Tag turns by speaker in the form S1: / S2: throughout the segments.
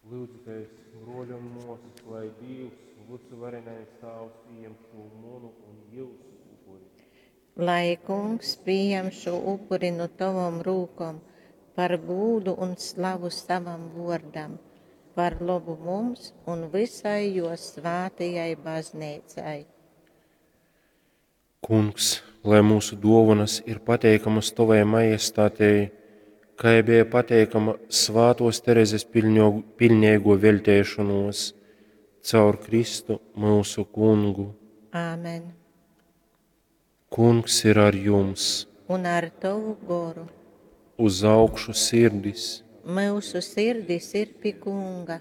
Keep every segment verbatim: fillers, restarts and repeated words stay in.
S1: Lyudzitēs, bruoļi un muosys, lai Dīvs, Vysuvarenais Tāvs, pījam šū munu un jiusu upuri.
S2: Lai Kungs pījam šo upuri nu tovom rūkom par gūdu un slavu savam vuordam, par lobu mums un visai juo svātajai Bazneicai.
S1: Kungs, lai mūsu duovanas ir pateikamas Tovai majestātei, kai beja pateikama Svātuos Terezes piļņo, piļneigo veļteišonuos, caur Kristu myusu Kungu.
S2: Āmen.
S1: Kungs ir ar jums!
S2: Un ar tovu goru.
S1: Uz augšu sirdis!
S2: Myusu sirdis ir pi Kunga.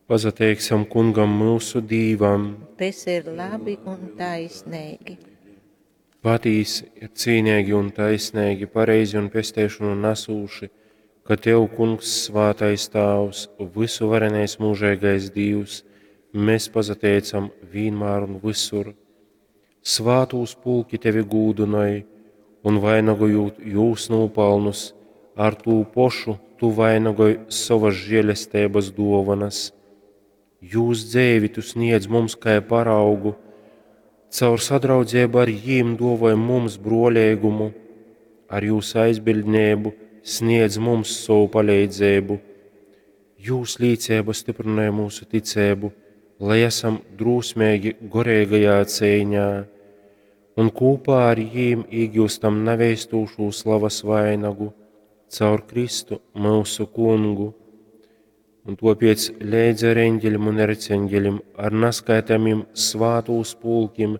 S1: Pasateiksim Kungam myusu Dīvam!
S2: Tas ir labi un taisnīgi.
S1: Patīsi ir cīneigi un taisneigi, pareizi un pesteišonu nasūši, ka Tev, Kungs, Svātais Tāvs, vysuvarenais mūžeigais Dīvs, mēs pasateicam vienmēr un visur. Svātūs pulki Tevi gūdynoj, un vainagojūt jūs nūpalnus, ar tū pošu Tu vainagoj sovas žēlesteibas duovanas. Jūs dzeivi Tu sniedz mums kai paraugu, caur sadraudzību ar jīm duovoj mums bruoleigumu, ar jūs aizbildnību sniedz mums sovu paleidzeibu. Jūs līcība stiprināja mūsu ticību, lai esam drūsmīgi goreigajā cīņā, un kopā ar jīm iegūstam neveistūšu slavas vainagu caur Kristu mūsu Kungu. Un topiec leidz ar eņģeļim un erceņģeļim, ar naskaitāmim svātūs pulkim,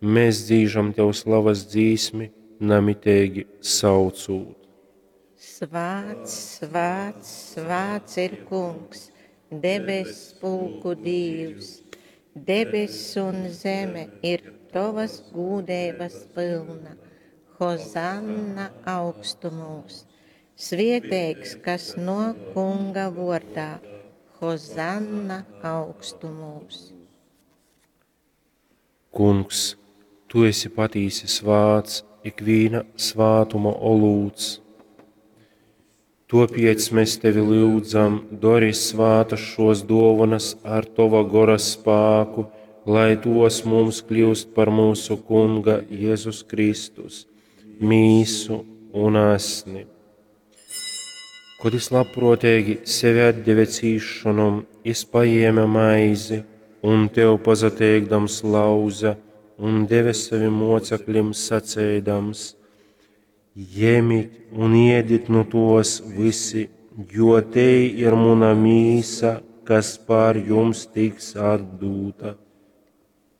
S1: mēs dzīžam Tev slavas dzīsmi, namiteigi saucūt.
S2: Svāts, svāts, svāts ir Kungs, debess pulku Dīvs. Debess un zeme ir Tavas gūdeibas pilna. Hozanna augstumos. Svieteigs, kas no Kunga vordā. Hozanna augstumos.
S1: Kungs, Tu esi patīsi svāts, ikvīna svātuma olūts. Topiec mēs Tevi lyudzam, dori svātas šos dovanas ar Tova gora spāku, lai tos mums kļūst par mūsu Kunga Jēzus Kristus, mīsu un asni. Kod es labprātīgi sevi atdeve cīšanom, es paēma maizi un Tev pasateikdams lauza un deve savim mocekļiem sacēdams: Ņemit un ēdit nu tos visi, jo te ir muna mīsa, kas pār jums tiks atdūta.